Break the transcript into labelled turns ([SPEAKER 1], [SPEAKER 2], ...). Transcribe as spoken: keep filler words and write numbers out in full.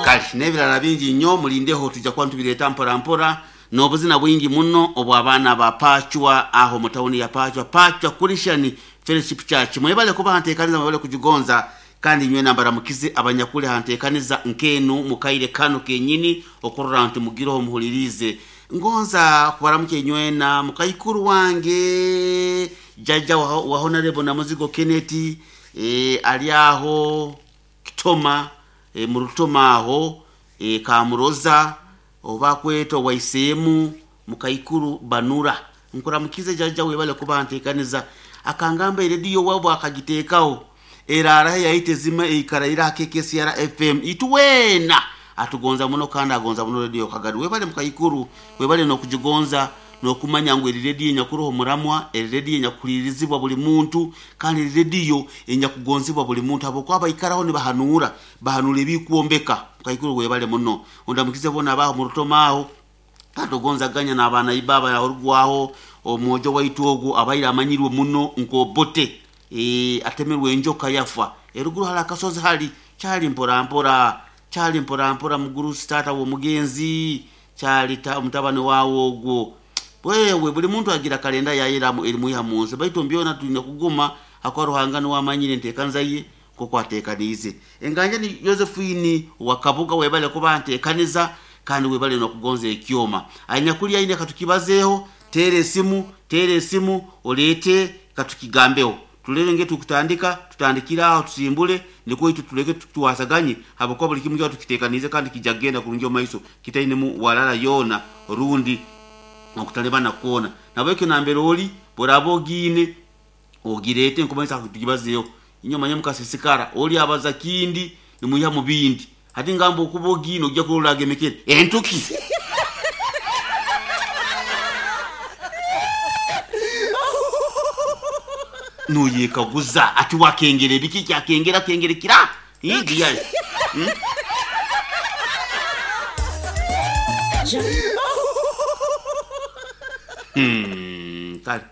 [SPEAKER 1] Kale n'ebirala bingi nnyo, mulindeho, tujja kuba ntubireeta mpora mpora n'obuzina bwingi muno obw'abaana ba Pachwa aho mu tawuni ya Pachwa, Pachwa Christian Fellowship Church. Mwebale kuba hanteekaniza, mwebale kugigonza, kandi nywe nambaramukize abanyakuli hanteekaniza nkenu mukaire kano kenyini okurora nti mugireho muhulirize. Ngonza kubaramuke nywena mukaikuru wange jajja wa, wa Honorable Namuzigo Kenneth, e, ali aho Kitoma, e, mu Rutoma aho, e, Kamuroza oba kweta waiseemu mukaikuru Banura. Nkuramukize jajja, webale kuba nteekaniza. Akangamba erediyo wabwe akagiteekawo erara yayite zima eikara ira K K C R F M ituwena atugonza muno kandi agonza muno rediyo Kagadi. Webale mukaikuru, webale n'okugigonza n'okumanya ngu eri rediyo enyakuroho muramwa, eri rediyo enyakuhulirizibwa buli muntu, kandi eri rediyo enyakugonzibwa buli muntu habwokuba baikaraho nibahanuura, bahanuura ebikwombeka. Mukaikuru webale muno. Ondamukize bona abaho mu Rutoma aho katogonzaganya n'abaana ibaba yaorugwaho omwojo waitu ogwo abaire amanyirwe muno nkobote, e, atemerwe enjoka yafa eruguru hali akasozi hali kyali mpora mpora, kyali mpora mpora mugurusi taata w'omugenzi kyali ta, mutabani waawe ogwo. Wewe buli muntu agira kalenda yayiramu erimwiha mu nsi, baitu mbyona tulina kuguma hakuba Ruhanga niwe amanyire enteekaniza ye nk'oku ateekaniize. Enganja ni Josephine wa Kabuga, webale kuba nteekaniza kandi webale n'okugonza ekyoma. Anyakuli aine katukibazeeho, teera esimu, teera esimu oleete katukigambeho, tulere nge tukutandika, tutandikire aho tusimbule nikwo itu tuleke tuwasaganye habwokuba buli kimu kyona tukiteekaniize kandi kijja kugenda kurungi omu maiso kitainemu walala yoona rundi okutalibana kwona. Nabwekyo nambere oli bworaba ogiine ogireete nkumanyisa tugibazeeho. Inywe manye mukasisikara oli abaza kindi nimwiha mu bindi, hati ngamba okuba ogiine ojja kurora agemekere entuki. Noyekaguza ati wakengera ebiki kyakengera kengere kira igiyayo. Hmm? Hmm, kale.